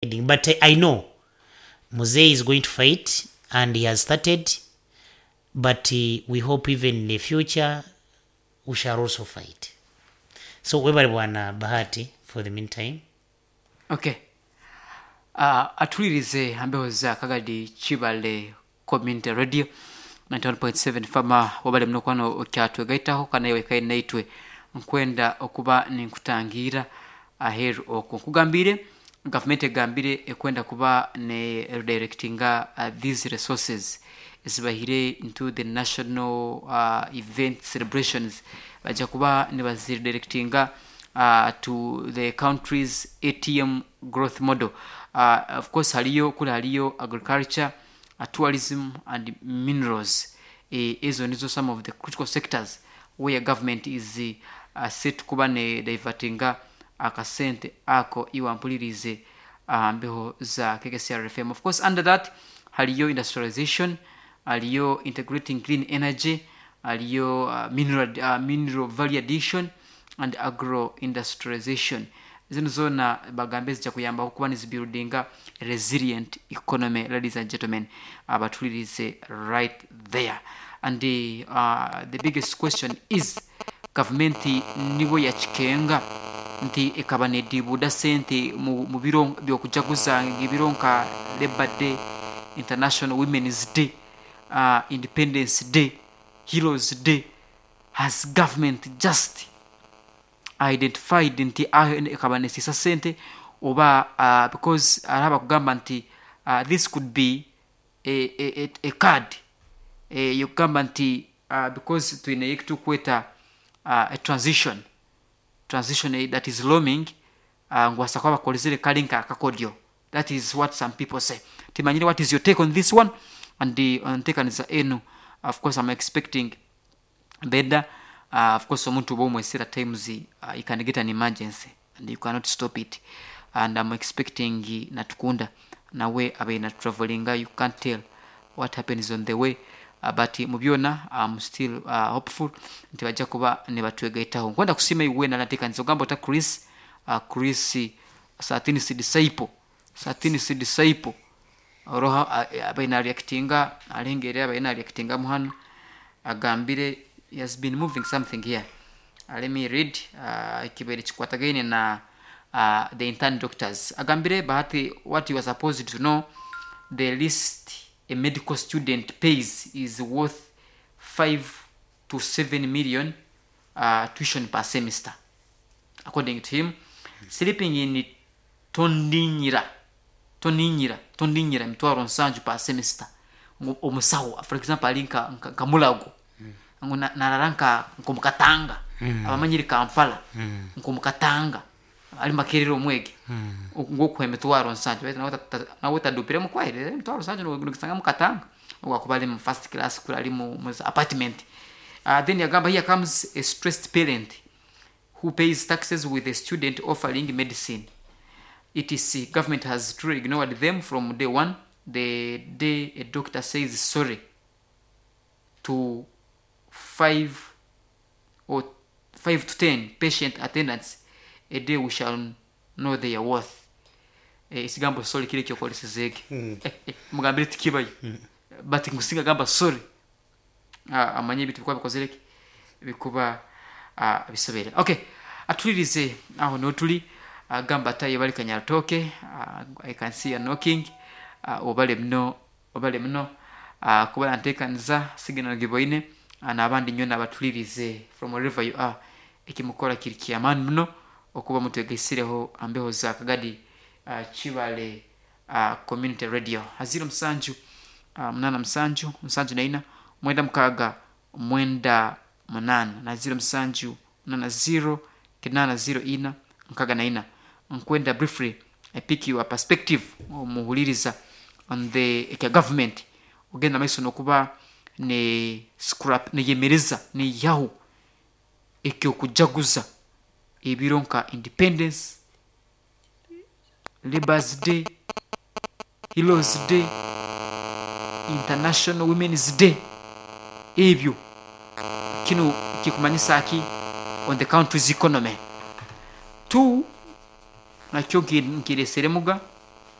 But I know Muzei is going to fight and he has started but we hope even in the future we shall also fight. So webale bwana Bahati for the meantime. Okay. Uh, atulirize ambeho za Kagadi Kibale Community Radio 91.7 fama wabale muno kwano okyatwegaitaho kana iwe kai naitwe nkwenda okuba ninkutangira aheru okwo nkugambire gavumenti egambire ekwenda kuba ne redirectinga these resources ezibahire into the national event celebrations bajja kuba nibaziredirectinga to the country's ATM growth model. Of course hariyo kuri hariyo agriculture, tourism and minerals. Ezo nizo some of the critical sectors where government is set kuba ne divertinga akasente ako iwe ampulirize aha mbeho za KKCR FM. Of course under that hariyo industrialization, hariyo integrating clean energy, hariyo mineral value addition and agro industrialization. Zino zoona bagambe zija kuyambaho kuba nizibuildinga resilient economy, ladies and gentlemen, abatulirize right there. And the biggest question is gavumenti nibo yakikenga nti ekaba nedibuuda sente mu biro by'okujaguza ebiro nka Labor Day, International Women's Day, Independence Day, Heroes Day. Has government just identified nti aho ekaba nesiisa sente oba because hariho abakugamba nti this could be a card eyokugamba nti because twine ekitukweta a transition that is looming, ngu baasa kuba bakozire kari nka akakodyo. That is what some people say. Timanyire what is your take on this one and the ontekaniza enu. Of course I'm expecting better. Of course omuntu oba omwesera times you can get an emergency and you cannot stop it, and I'm expecting Natukunda nawe abe na travelinga, you can't tell what happens on the way, but mu byona I'm still hopeful nti bajja kuba nibatwegaitaho. Nkwenda kusiima iwe nanateekaniza ogamba ota Chris, Chris Satin's disciple, Satin's disciple oroha abaine nareactinga arengere abaine nareactinga muhano agambire he has been moving something here. Let me read ekibaire kikwatagaine na the intern doctors. Agambire Bahati, what you are supposed to know, the least a medical student pays is worth 5 to 7 million tuition per semester. According to him, sleeping in Tondinyira, Tondinyira, Tondinyira emitwaro nsanju per semester. Omusawo, for example, ali nka Mulago. Ngu narara nkomukatanga. Abamanyire Kampala. Nkomukatanga. Ali Makerere omwege. Ngu okuha emitwaro nsanju. Baitu nawe tadupiremu kwaire, emitwaro nsanju nogisanga mukatanga. Ogwakuba ali mu first class, kuri ali mu apartment. Then yagamba here comes a stressed parent who pays taxes with a student offering medicine. ETC government has truly ignored them from day one. The day a doctor says sorry to 5 or 5 to 10 patient attendants a day, we shall know their worth. Ekigambo sorry kiri ekyokoresezege. Mugambire tikibayo. But ngusinga gamba sorry. Amanye ebintu bikuba bikozire ki? Bikuba bisobere. Okay. Atulirize aho niho turi. Gamba ataye bali Kanyaratoke. I can see you knocking. Obale muno, obale muno. Kuba ntekaniza signal giboine. N'abandi nyo nabatulirize from wherever you are. Ekimukora kiri kyamaani muno okuba mutwegaisireho ambeho za Kagadi Kibale Community Radio. Haziro musanju, 8 musanju, 74 96 98 na 0 7 8 0 8 0 4 6 4. Nkwenda briefly I pick your perspective omuhuliriza on the ekya government ogenda maiso nokuba ne scrap neyemereza neyaho ekyokujaguza ebiro nka Independence, Labor's Day, Heroes Day, International Women's Day. Ebyo kino kikumanyisa ki on the country's economy? Two, nakyo nkireseremuga.